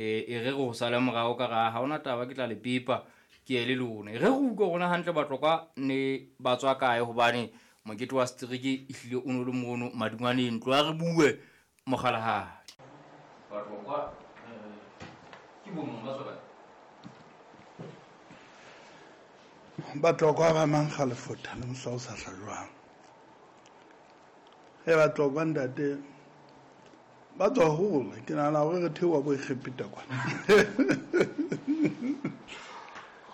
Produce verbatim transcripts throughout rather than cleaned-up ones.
E re re ho sale morao ka ra ha hona taba, ke tla le pepa ke ye le lona. E re re utlwe rona hantle Batlokwa ne ba tswa kae, hobane mokete wa setereke ehlile o no le mono madungwaneng. Tloha re bue mokgalahadi. Batlokwa ke bo mang, ba tswa kae? Batlokwa ba mang kgalefota le mohla o sa hlajwang. E Batlokwa ntate ba tswa hole, ke nahana hore re theoha bo Egepeta kwana.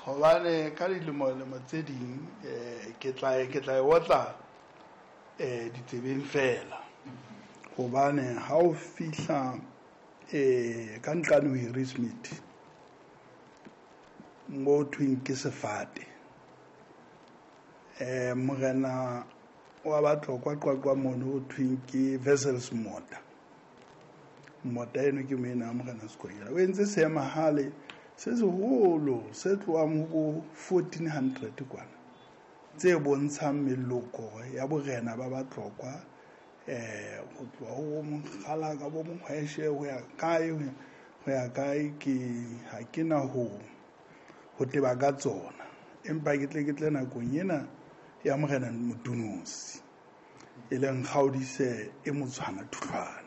Hobane ka dilemo-lemo tse ding eh ke tla ke tla e otla eh ditsebeng fela. Hobane ha o fihla eh ka nqane ho Harrismith mo thweng ke sefate. Eh morena wa Batlokwa Qwaqwa mono ho thweng ke Wessels Mota. Mota eno ke moena morena Sekonyela. O entse seemahale se seholo se tlohang ho bo fourteen hundred kwana, tse bontshang meloko ya borena ba Batlokwa eh ho tloha ho Mokgalaka bo Mohweshe ho ya kae ho ya kae, ke ha ke na ho ho teba ka tsona, empa ke tle ke tle nakong ena ya morena Motunosi e leng Kgaodise e motshwana Thutlwane.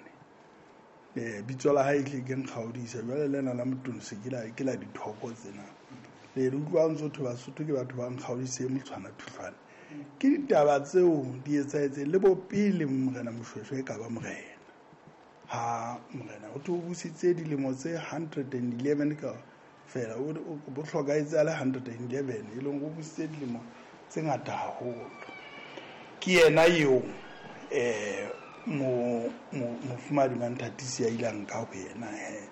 Eh bitso la hae tle ke Nkgaodise, jwale lena la Motunosi ke la ke la dithoko tsena. Le re utlwa ntse thwe Basotho ke batho ba Nkgaodise e motshwana Thutlwane. Ke ditaba tseo di etsahetseng le bo pele morena Moshweshwe e ka ba morena. Ha morena o tlo busitse dilemo tse hundred and eleven ka fela, o bo hlokahetse a le hundred and eleven, e leng o busitse dilemo tse ngata haholo. Ke yena eo eh mo mofumahadi Manthatisi a ile a nka ho yena he.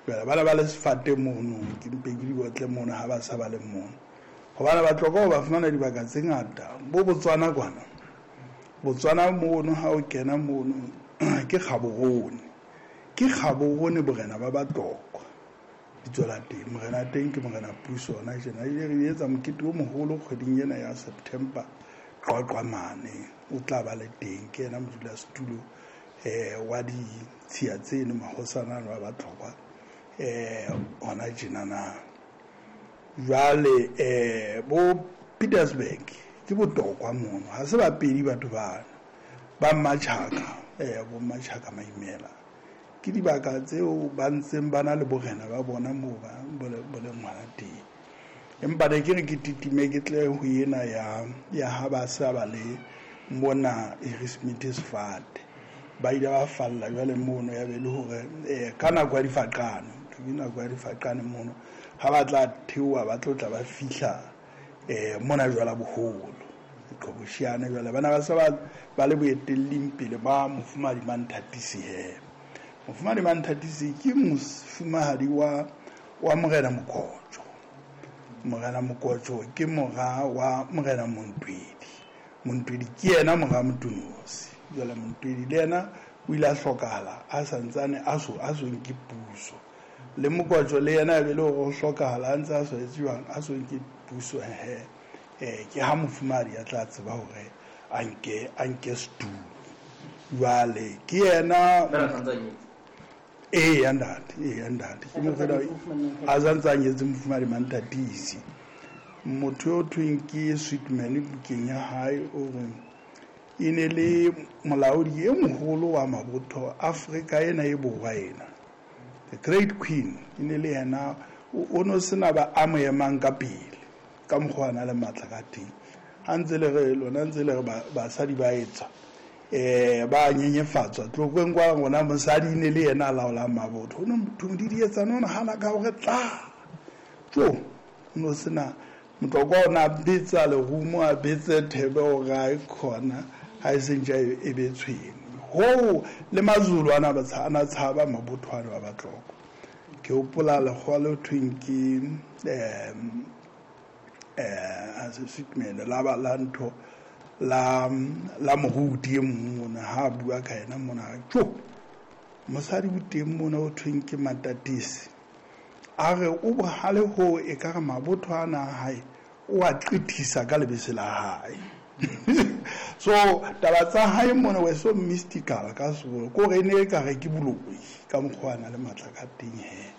Jwale bana ba le sefate mono, ke mpe ke di otle mono ha ba sa ba le mono. Hobane Batlokwa ba fumana dibaka tse ngata bo Botswana kwana. Botswana mono ha o kena mono ke Gaborone. Ke Gaborone borena ba Batlokwa. Bitso la teng, morena teng ke morena Puso hona tjena. Ile re etsa mokete o moholo kgweding ena ya September Qwaqwa mane, o tla ba le teng, ke yena modulasetulo eh wa ditshiya tseno mahosana ano a Batlokwa eh hona tjena na. Jwale eh bo Petersburg ke botokwa mono, ha se bapedi batho bana ba Mmatjhaka, eh bo Mmatjhaka Maimela. Ke dibaka tseo ba ntseng ba na le borena ba bona moo ba bo le ngwana teng. Empa ne ke re ke titime ke tle ho ena ya ya ha ba sa ba le mona Harrismith sefate. Ba ile ba falla jwale mono, ya be le hore eh ka nako ya difaqane, ke nako ya difaqane mono ha ba tla theoha ba tlo tla ba fihla eh mona jwala boholo Qhobosheane. Jwale bana ba sa ba ba le boetelling pele ba mofumahadi Manthatisi he. Mofumahadi Manthatisi ke mofumahadi wa wa morena Mokotjo. Morena Mokotjo ke mora wa morena Montwedi. Montwedi ke yena mora Motunosi. Jwale Montwedi le yena o ile a hlokahala a santsane a so a so nke puso. Le Mokotjo le yena e be le hore o hlokahala a ntse a so etse jwang, a so nke puso he. Eh ke ha mofumahadi a tla tseba hore a nke a nke setulo. Jwale ke yena eh ntate, eh ntate ke morena a santse a nyetse mofumahadi Manthatisi. Motho eo thweng ke Sweetman bukeng ya hae o re e ne le molaodi e moholo wa mabotho Afrika ena e borwa ena, the Great Queen. E ne le yena o no sena ba a mo emang ka pele ka mokgwa a na le matla ka teng. Ha ntse le re lona ntse le re basadi ba etsa eh ba nyenyefatswa Tlokweng kwa rona, mosadi ne le yena a laolang mabotho. Ho no motho di di etsa nona hana ka hore tla tjo no sena Motlokwa o na betsa lerumo a betse thebe hore a e khona ha e sentja e be tshwene. Ho le Mazulu ana ba ana tshaba mabotho ano a Batlokwa. Ke hopola lekgowa le thweng ke eh eh as a Sweetman la ba la ntho la la moruti e mong mona ha bua ka yena mona tjo mosadi o teng mona o thweng ke Matatisi. A re o bohale ho e ka re mabotho ana a hae o a qethisa ka lebese la hae. So taba tsa hae mona were so mystical ka sekolo, ko re ne e ka re ke boloi ka mokgwa a na le matla ka teng he.